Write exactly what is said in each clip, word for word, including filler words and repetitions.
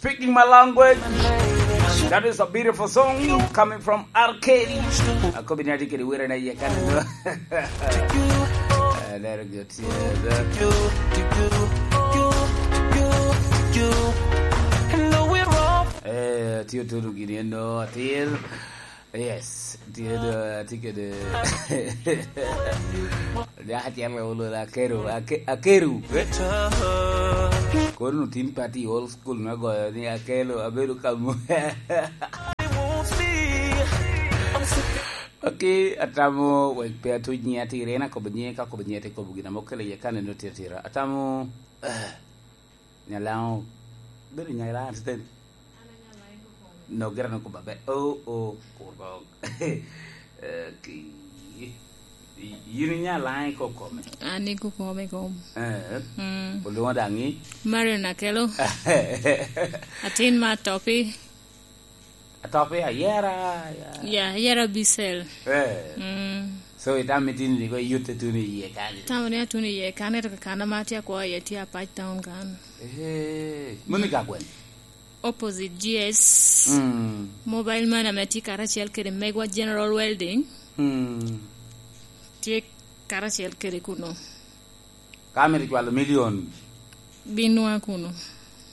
Speaking my language. That is a beautiful song coming from R K. Akobi ni ati kedi wira na ye kan do. Aneno gyo tye. Eh, tye otuno gini eno atir. Yes, tye do, tye kede. Dyak acel ka olo la akeru, ake-, akeru. Kono tin party old school me goyo ni akelo, abedo ka mo. Ok, atamo wek pe atuc nyiŋ atir, en akobo nyiŋe, ka akobo nyiŋe te kobo gin ame okelo iye kan eno tye atira. Atamo, eh, Nyalaŋo. Bedo Nyalaŋo atiteni. No, gira no kuba be. Oh, oh, kurgo. Okay. Yin inya laŋ i kokome. An i kokome kom. Eh. Mm. Olwoŋo daŋ i? Marion Akelo. Atin ma Atopi. Atopi ayera, ya. Ya, ayera Bisel. Eh. Mm. So, itamo itino ni ko iyutte tuno i yie kanyo? Tamo ni atuno i yie kanyo, ento kakana ma atye akwo iye tye Apac Town kan. Eh, moni ka gwen? Opposite G S. Mm. Mobile money ame tye karacel kede megwa General Welding. Mm. Tye karacel kede kuno. Ka mito cwalo million. Bin nwa kuno.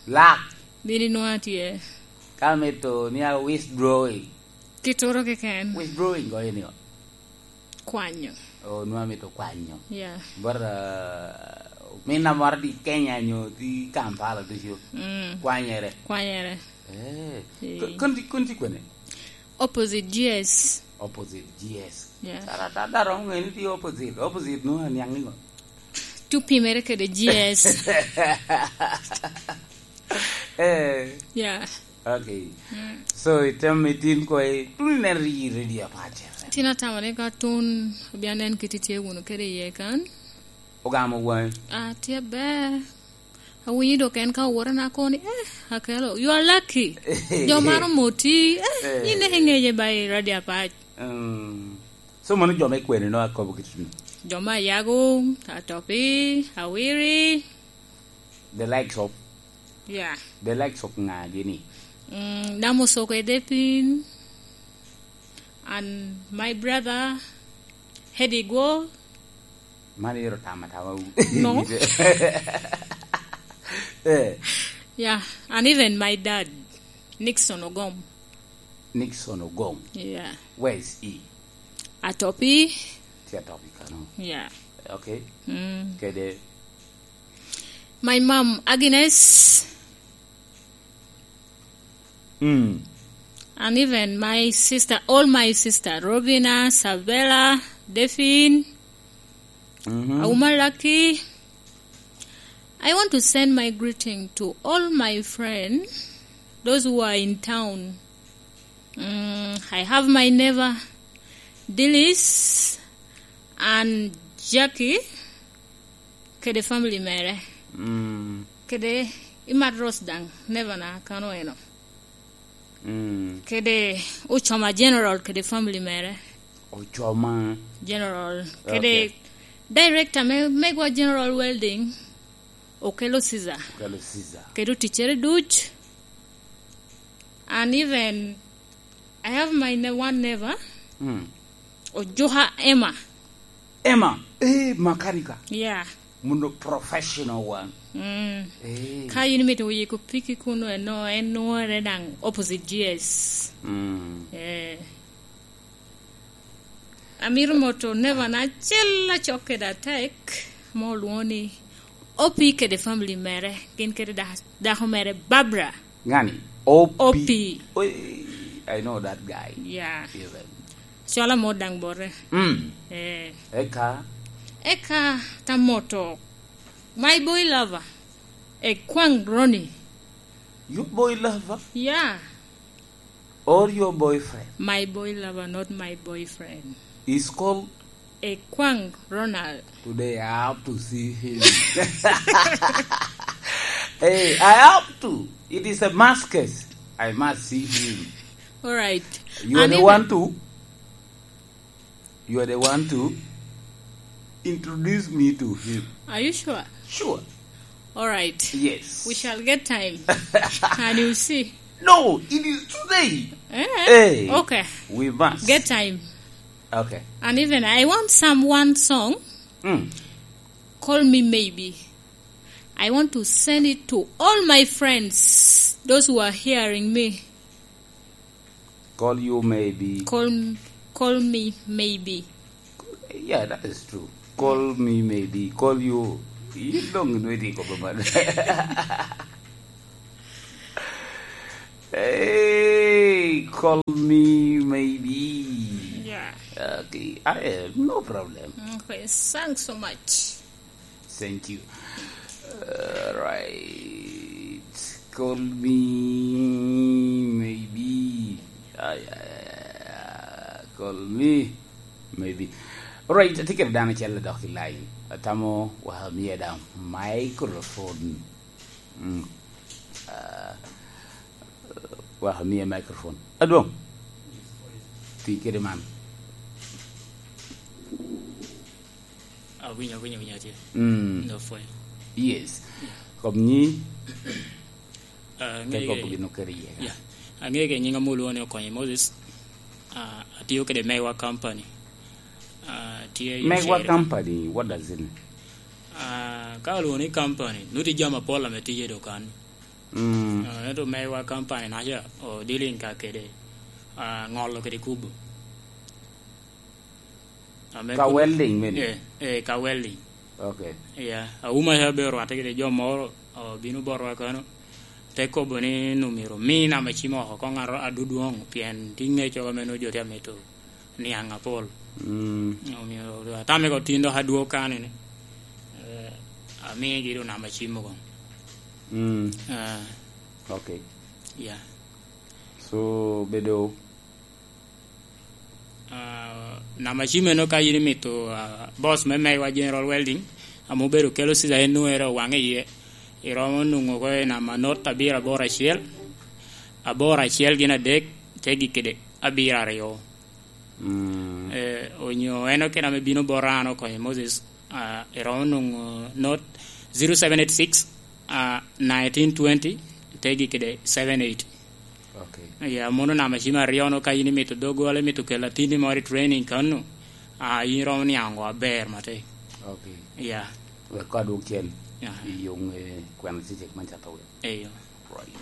Lak. Bin nwa tye. Ka mito ni a withdrawing. Kitoro keken. Withdrawing go eni o. Kwanyo. Oh, nwa mito kwanyo. Yeah. But, uh, mina moro di Kenya nyo di Kampala ducu. Mm. Kwanyere. Kwanyere. Eh. Eh. Kun ti, kun ti kwene? Opposite G S. Opposite G S. Yeah. Tara, tara, tara, ŋe ni ti opposite. Opposite no aniaŋ ni ŋo? Tu pimere kede G S. Eh. Yeah. Okay. Mm. So, item itin ko i, tun inen ri, ri, ri, apace. Tin atamo ni ka tun, obia nen kit itye wunu kede iye kan. Ogamo wai. Ah, tye ber. Awinyo dok en ka owora na koni, eh, Akelo, you are lucky. Jo maro moti, eh, eh, yin dek ing'eye ba i radio Apac. Mm. So, mano jo me kwene no akobo kit ni? Jo me Ayago, Atopi, Awiri. The likes of? Yeah. The likes of ng'a gini? Mm, Namusoko Edepin, and my brother, Hedi Gwo. Mano ero tama tama. No. Eh. Yeah, and even my dad, Nixon Ogom. Nixon Ogom. Yeah. Where is he? Atopi. Ti Atopi kano. Yeah. Okay. Mm. Kede? My mom, Agnes. Mm. And even my sister, all my sister, Robina, Sabella, Delphine, mm-hmm, Auma Lucky. I want to send my greeting to all my friends, those who are in town. Mm, I have my neighbor, Dillis and Jackie, kede family mere. Mm. Kede Imat Rose daŋ, neighbor na kano eno. Mm. Kede Ochoma General kede family mere. Ochoma General. Kede, okay, director me, megwa General Welding, Okelo Caesar. Okelo Caesar. Kede oticere duc. And even I have my ne-, one neighbor. Mm. Ojuka Emma. Emma, eh, makanika. Yeah. Muno professional one. Mm. Eh. Ka yin mito yiko piki kuno eno, en nwore daŋ opposite G S. Mm. Eh. Amito moto neighbor na acel acok kede atek, ame olwoŋo ni Opi kede family mere, gin kede da-, dako mere Barbara. Ngani? Opi. Opi. Oi, I know that guy. Yeah. Even. Cola mo daŋ bote. Mm. Eh. Eka? Eka ta moto. My boy lover. Ekwaŋ Ronnie. Your boy lover? Yeah. Or your boyfriend? My boy lover, not my boyfriend. Is called Ekwaŋ Ronald. Today I have to see him. Hey, I have to. It is a must case. I must see him. All right. You are the one to. You are the one to introduce me to him. Are you sure? Sure. All right. Yes. We shall get time. And you'll see. No, it is today. Eh? Hey. Okay. We must. Get time. Okay. And even I want some one song. Mm. Call Me Maybe. I want to send it to all my friends, those who are hearing me. Call you maybe. Call, call me maybe. Yeah, that is true. Call me maybe. Call you. You don't know anything about that. Hey, call me maybe. Yeah. Okay. I, uh, no problem. Okay, thanks so much. Thank you. All right. Call me maybe. Ay, ay, ay, ay. Call me maybe. All right, atye kede dano acel dok i line. Atamo wek amie daŋ microphone. Mm. Ah, wek amie microphone. Adwoŋ. Ti kede man. Awinyo, awinyo, awinyo tye. Mm. Ndo pwony. Yes. Yeah. Kop nyi. Ah, te kop gin okere iye. Yeah. Ang'e ke nyinga mo lwongo ni Okonyo Moses. Ah, atiyo kede Mewa Company. Ah, tye i Mewa Ocere. Company, what does it mean? Ah, ka olwongo ni company, nuti jami apol ame tye i dokan. Mm. Ah, ento Mewa Company naca, o dealing ka kede, ah, ŋolo kede kubo. Ame ka kun-, welding mene? Eh, eh, ka welding. Okay. Yeah, auma ca be orwatte kede jo moro, obino botwa kano, te kobo ni nwoŋo myero omi namba cim oko, koŋ aro adudwoŋ, pien tye ŋec oko ame nwoŋo jo tye amito niaŋ apol. Mm. Omyero atame ko tin dok adwog kano ni, eh, amigi doŋ namba cim oko. Mm. Ah. Okay. Yeah. So, bedo Ah, namba cim eno ka in imito, ah, boss me Mewa General Welding, ame obedo kelo cider en nwoŋo ere owaŋe iye, iromo nwoŋo oko i namba not abiro aboro acel, aboro acel gin adek, te gik kede abiro aryo. Mm. Eh, onyo en okene ame bino bot an Okonyo Moses, ah, iromo nwoŋo not zero seven eight six, ah, nineteen twenty, te gik kede seven eight. Okay. Ya, mono namba cim aryo no, ka in imito doggola, imito kelo atinni moro i training kano, ah, in iromo niaŋ oko aber matek. Okay. Ya. Wek kor adwog cen. Ya. I yoŋ, eh, kwena cecek man cato wek. Eyo. Right.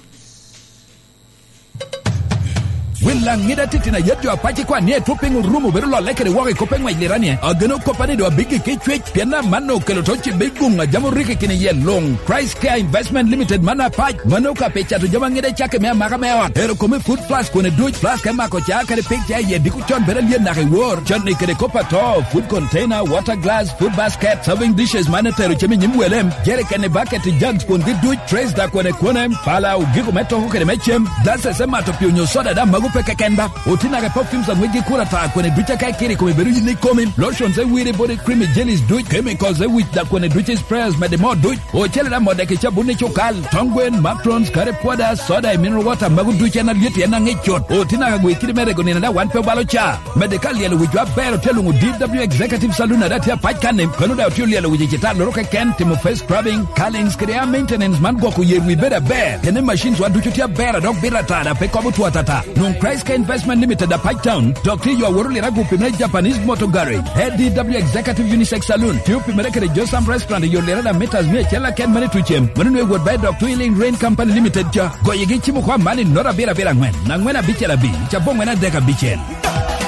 Wil aŋida titino a yet jo apac ikwan ni etwop piny orumo bedo lolle kede woko i kop eŋwec liranie. Ageno koppa ni doŋ abiggi ki cwec, pien amanno okelo to cibe i guŋ a jam orikki kine iye luŋ. Christ Care Investment Limited man apac, mano ka pe cato jami aŋida i cakke me amaka me ot. Ero kome food plus kone duc, plus ka imako ca kadi pig ca iye diko con bedo alyen naka i wor. Canni kede kop ato, food container, water glass, food basket, serving dishes man etero cem i nyim welem, jerikeni, baketi, jugs, kwongi duc, trays da kone kone, pala, ogiko me toko kede me cem, glasses me mato pii onyo soda da mago pe keken ba. Oti naka perfumes aŋwec gi kura ta kone duc aka ikiri kome bedo yin ikomi, lotions e wiri body cream i jellies duc, chemicals e wic da kone duc i sprayers mede mo duc. Ocele da modde ki cabun i cukal, tong gwen, macarons, curry powder, soda i mineral water, mago ducu en alyet en aŋic cut. Oti naka gwe kidi me rego nino da wan pe obalo ca. Medde ka lyelo wicwa aber otye luŋo D W Executive Saloon ada tye apac kanni, kano da otye olyelo wic i citalloro keken, timo face scrubbing, curlings kede hair maintenance man gwoko yer wi bedo aber. Kene machines wa ducu tye aber a dok bito ata da pe kobo two atata. Nwoŋ Christ Care Investment Limited apac town, dok tye yo aworo lira gupi me Japanese Motor Garage. A D W Executive Unisex Saloon, tye opimere kede Josam Restaurant i yo lira da meters mia acel aken mene tucem. Mano nwe wot ba i dok Twilling Rain Company Limited ca. Goyigi cimo kwa mani not abiro abiro aŋwen, aŋwen abicel abic, cabongwen adek abicel.